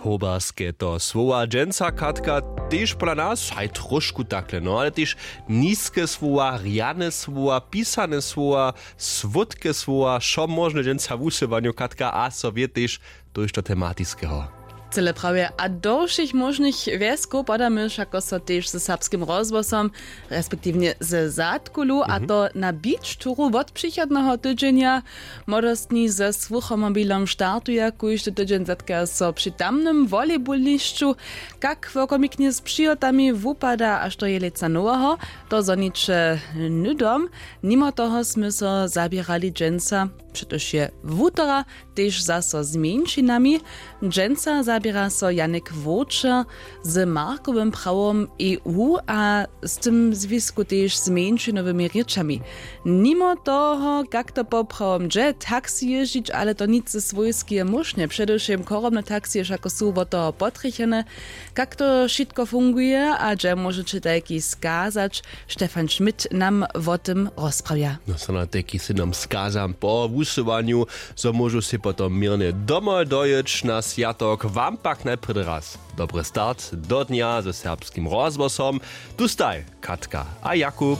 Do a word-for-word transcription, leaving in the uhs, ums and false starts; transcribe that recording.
Hoberske to słowa dźensa, Katka, tež pola nas haj tróšku takle, no ale tež niske słowa, rjane słowa, pisane słowa, słódke słowa, wšo móžne dźensa w wusyłanju, Katka, a so wě tež tójšto tematiskeho. Cyle prawje, a do wšěch móžnych wjeskow podamy wšako so tež ze Serbskim rozhłosom, respektiwnje ze Zadkulu, a to na beach touru wot přichodneho tydźenja. Młodostni ze słuchomobilom startuja kóždy tydźeń, zetkaja so při tamnym volejbownišću. Kak wokomiknje z přihotami wupada a što je lětsa noweho, to zhoniće hnydom. Nimo toho smy so zaběrali dźensa, přetož je wutora, tež zaso z mjeńšinami. Dźensa zaběra so Janek Wowčer z markowym prawom E U a z tym zwisku tež z mjeńšinowymi rěčami. Nimo toho, kak to poprawom dźe, taksi jězdźić, ale to nic ze swójskeje móšnje, předewšěm chorobne taksije wšako su wot toho potrjechene. Kak to wšitko funguje a hdźe móžeće tajki skazać, Stefan Schmidt nam wo tym rozprawja. No, so na tajki sy nam skazam po wusyłanju, zo móžu sej potom měrnje domoj dojěć na swjatok. Wam pak najprjedy raz dobry start do dnja ze Serbskim rozhłosom. Tu staj Katka a Jakub.